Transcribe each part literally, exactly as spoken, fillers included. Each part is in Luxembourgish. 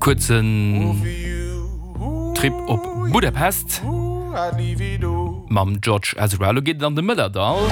Kuerzen Trip op Budapest mam George Ezra. Elo geet et an de Mëllerdall.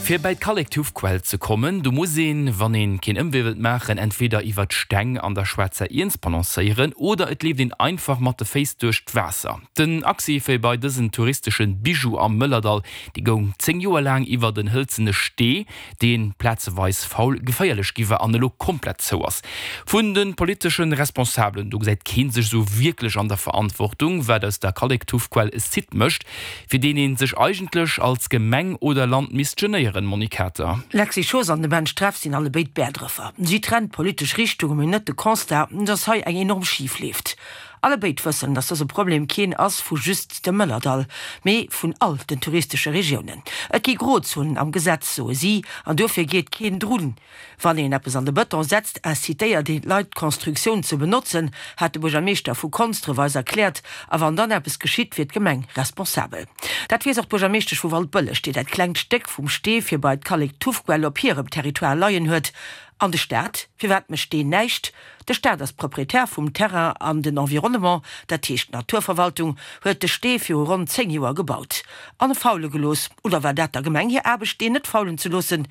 Fir bei d'Kallektuffquell ze kommen, do muss een, wann een keen Ëmwee wëllt maachen, entweder iwwer d'Steng an der schwaarzer Iernz balancéieren oder et leeft een einfach mat de Féiss duerch d'Waasser. Den Accès fir bei dësen touristeschen Bijou am Mëllerdall, dee goung zéng Joer laang iwwer en hëlzene Stee, deen plazeweis faul geféierlech gi war an elo komplett zou ass. Vun de politeschen Responsabelen do gesäit keen sech sou wierklech an der Verantwortung, wat aus der Kallektuffquell e Site mécht, fir deen een sech eigentlech als Gemeng oder Land misst genéieren, Monique Kater. D'Lexy Schoos an de Ben Streff sinn allebéid Bäerdrëffer. Si trennt d'politesch Richtunge, mee net de Constat, dass hei eng enorm schif leeft. Allebéid wëssen, dass dëse Problem keen ass vu just dem Mëllerdall, mee vun all den touristesche Regiounen. Et gi Grozonen am Gesetz, soe si, an dofir geet keen drun. Wann een eppes an de Bëton setzt, incitéiert een d'Leit, d'Constructioun ze benotzen, hat de Buergermeeschter vu Konsdref eis erkläert. A wann dann eppes geschitt, wier d'Gemeng responsabel. Dat weess och d'Buergermeeschtesch vu Waldbëlleg, déi dat klengt Stéck vum Stee fir bei d'Kallektuffquell op hirem Territoire leien huet. An de Staat? Firwat mécht deen näischt? De Staat ass Proprietär vum Terrain an den Environnement, dat heescht d'Naturverwaltung, huet de Stee viru ronn zéng Joer gebaut an e faule gelooss. Oder war dat der Gemeng hir Aarbecht, deen net faulen ze loossen?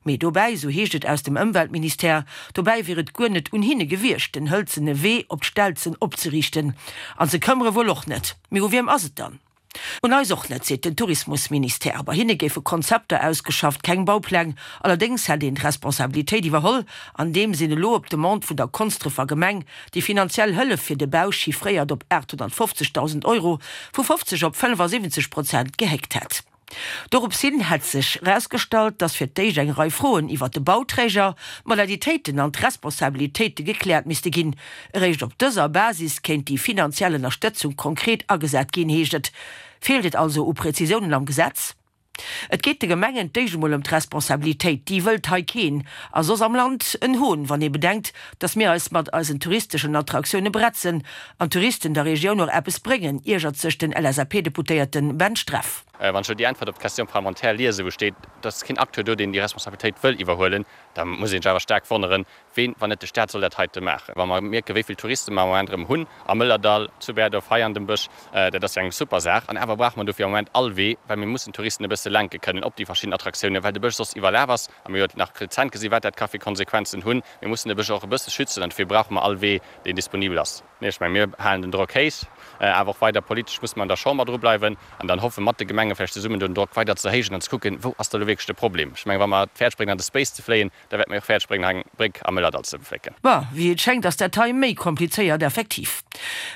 Mee dobäi, sou heescht et aus dem Ëmweltministère, dobäi wier et guer net un hinne gewiescht, den hëlzene Wee op d'Stelzen opzeriichten. An se këmmere wuel och net. Mee u wiem ass et dann? Un eis och net, seet den Tourismusministère. Bei hinne géife Konzepter ausgeschafft, keng Baupläng. Allerdéngs hätt een d'Responsabilitéit iwwerholl, andeems een elo op Demande vun der Konsdrefer Gemeng déi finanziell Hëllef fir de Bau, chiffréiert op aathonnertfofzegdausend Euro, vu fofzeg op fënnefasiwwenzeg Prozent gehéckt hätt. Dorops hin hätt sech erausgestallt, datt fir d'éischt eng Rei Froen iwwert de Bauträger, d'Modalitéiten an d'Responsabilitéite gekläert misste ginn. Eréischt op dëser Basis kéint déi finanziell Ënnerstëtzung konkret agesat ginn, heescht et. Feelt et also u Prezisiounen am Gesetz? Et geet de Gemengen d'éischt emol ëm d'Responsabilitéit. Déi wëllt hei keen a soss am Land en Hohn, wann ee bedenkt, datt mir eis mat eisen touristeschen Attraktioune bretzen an d'Touristen der Regioun och eppes bréngen, iergert sech den L S A P-Deputéierte Ben Streff. Wann ech elo déi Äntwert op d'Question parlementaire liesen, wou steet, et ass keen Acteur do, deen déi Responsabilitéit wëll iwwerhuelen, da muss een sech awer staark wonneren, ween, wann net de Staat, soll dat heite maachen. Wa mer mierken, wéi vill Touriste mer am Moment erëm hunn am Mëllerdall, zu Berdorf, hei an dem Bësch, dat ass jo eng super Saach. An awer brauche mer dofir am Moment all Wee, well mir mussen d'Touristen e bësse lenke kënnen op déi verschidden Attraktiounen, well de Bësch soss iwwerlaf ass. A mir hu jo nach rezent gesinn, wat dat ka fir Konsequenzen hunn. Mir mussen de Bësch och e bësse schützen an dofir brauche mer all Wee, deen disponibel ass. Nee, ech mengen, mir halen den Drock héich, awer och weider politesch muss mer an der Chamber dru bleiwen an dann hoffen, mat de Gemenge vläicht zesummen do den Drock weider ze erhéijen an ze kucken, wou ass da elo wierklech de Problem. Ech mengen, wa mer et fäerdeg bréngen, an de Space ze fléien, da wäerte mir och fäerdeg bréngen, hei eng Bréck am Mëllerdall ze flécken. Bon, wéi et schéngt ass dat hei méi komplizéiert effektiv.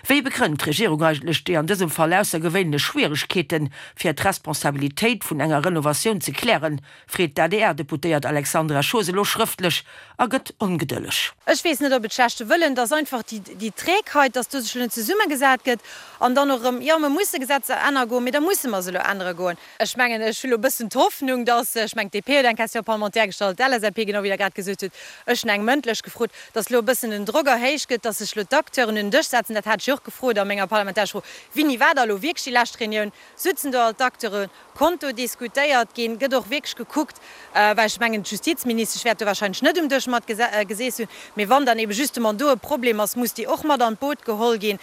Wéi begrënnt d'Regierung eigentlech déi an dësem Fall aussergewéinlech Schwieregkeeten, fir d'Responsabilitéit vun enger Renovatioun ze klären, freet d'A D R-Deputéiert Alexandra Schoos elo schrëftlech a gëtt ongedëlleg. Ech weess net, ob et schlechte Wëllen, dass einfach déi Trägheit, dass do sech elo net zesummegesat gëtt an dann och erëm, jo, mer musse Gesetzer ännere goen, mee da musse mer se elo ännere goen. Ech mengen, ech hu elo e bëssen d'Hoffnung, dass, ech mengen, d'D P huet eng Question parlementaire gestallt, d'L S A P, genau wéi Der grad gesot hutt, ech hunn eng mëndlech gefrot, dass elo e bëssen den Drock erhéicht gëtt, dass sech elo d'Acteuren un den Dësch setzen. Dat hat ech jo och gefrot a menger parlamentarescher Fro, Wéini war da elo wierklech déi lescht Reunioun? Sutzen do all d'Acteuren? Konnt do diskutéiert ginn? Gëtt och wierklech gekuckt, well ech mengen, d'Justizministesch wäert do wahrscheinlech net um Dësch mat geseess hunn, mee wann dann ebe justement do e Problem ass, muss déi och mat an d'Boot geholl ginn.